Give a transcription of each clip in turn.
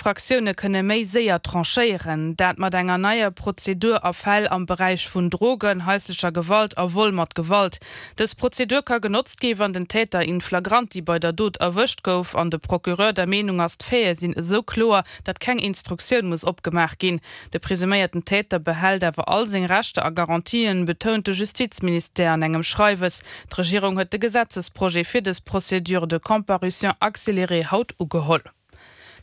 Infraktioune kënne méi séier tranchéieren. Dat mat enger neier Prozedur a Fäll am Beräich vun Drogen, haislecher Gewalt a Vol mat Gewalt. Dës Prozedur ka genotzt gi wann den Täter in flagranti bei der Dot erwëscht gouf an de Procureur der Meenung ass, d'Faite sinn esou kloer, datt keng Instruktioun muss opgemaach ginn. De presuméierten Täter behält awer all seng Rechter a Garantien, betount de Justizministère an engem Schreiwes. D'Regierung huet de Gesetzesprojet fir dës Procédure de comparution accélérée haut ugeholl.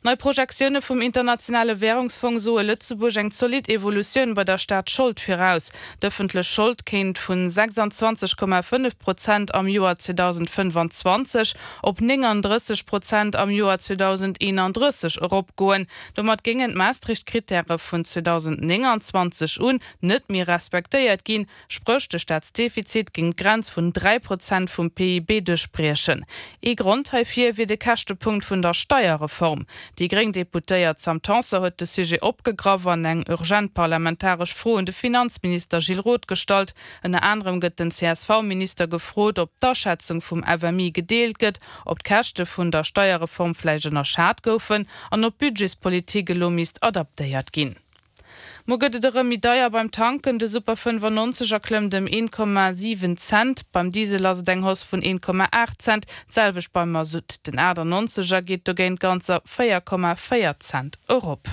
Nei Projektioune vum Internationale Wärungsfong soe Lëtzebuerg eng zolidd Evolutioun bei der Staatsschold viraus. D'ëffentlech Schold kéint vun 26,5 Prozent am Joer 2025 op 39 Prozent am Joer 2031 eropgoen. Domat géingen d'Maastricht-Krittäre vun 2029 un net méi respektéiert ginn, Spréch, de Staatsdefizit géing d'Grenz vun 3 Prozent vum PIB duerchbriechen. Ee Grond heifir wier de Käschtepunkt vun der Steierreform. Déi gréng Deputéiert Sam Tanson huet de Sujet opgegraff an eng urgent parlamentaresch Fro un de Finanzminister Gilles Roth gestallt. Ënner anerem gëtt den CSV-Minister gefrot, ob d'Aschätzung vum FMI gedeelt gëtt, ob d'Käschte vun der Steierreform vläicht ënnerschat goufen an ob d'Budgetspolitik elo misst adaptéiert ginn. Muer gëtt et erëm méi deier beim Tanken, de Super 95 erklëmmt ëm 1,7 Cent, beim Diesel ass et eng Hausse vun 1,8 Cent, d'selwecht beim Masutt. Den 98 er geet dogéint ganzer 4,4 Cent erop.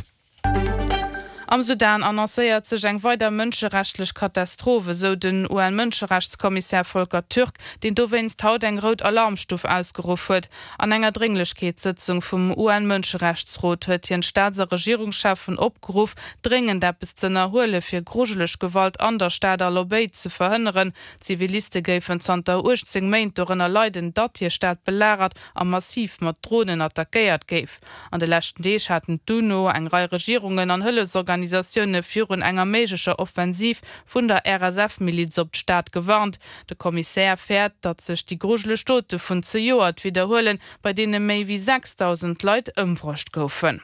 Am Sudan annoncéiert sech eng weider mënscherechtleg Katastroph, esou den UN-Mënscherechtskommissär Volker Türk, deen dowéinst haut eng rout Alarmstuf ausgeruff huet. An enger Drénglechkeetssëtzung vum UN-Mënscherechtsrot huet hien d'Staats a Regierungscheffen opgeruff, dréngend eppes z'ënnerhuele fir grujeleg Gewalt an der Stad Al-Obeid ze verhënneren. Ziviliste géifen zanter 18 Méint dorënner leiden, datt hir Stad belagert a massiv mat Dronen attackéiert géif. An de leschten Deeg haten d'UNO, eng Rei Regierungen an Hëllefsorganisatioune virun enger méiglecher Offensiv vun der RSF-Miliz op d'Stad gewarnt. De Kommissär fäert, datt sech déi grujeleg Dote vun zejoert widderhuelen, bei deene méi wéi 6.000 Leit ëmbruecht goufen.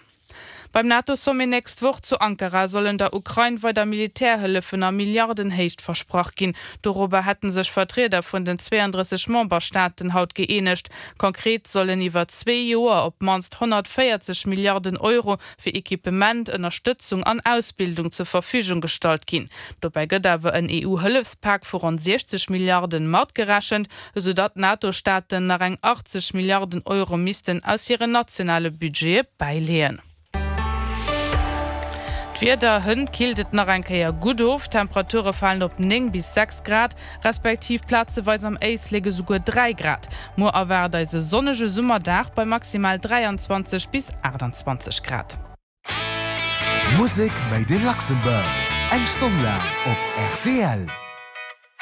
Beim NATO-Sommet nächst Woch zu Ankara sollen der Ukrain weider Militärhëllefen a Milliardenhéicht versprach ginn. Dorobber hätte sech Vertrieder vun den 32 Memberstaaten haut gëeenegt. Konkret sollen iwwer zwee Joer op d'mannst 140 Milliarden Euro fir Equipement, Ënnerstëtzung an Ausbildung zur Verfügung gestallt ginn. Dobäi gëtt awer en EU-Hëllefspak vu ronn 60 Milliarden matgerechent, esou datt d'NATO-Staaten nach eng 80 Milliarden Euro missten aus hiren nationale Budgete bäileeën. D'Wieder, Hënt killt et nach eng Kéier gutt of, d'Temperature falen op 9 bis 6 Grad, respektiv plazeweis am Éislek esouguer 3 Grad. Muer erwaart eis e sonnege Summerdag bei maximal 23 bis 28 Grad. Musek made in Luxembourg, eng Stonn laang op rtl.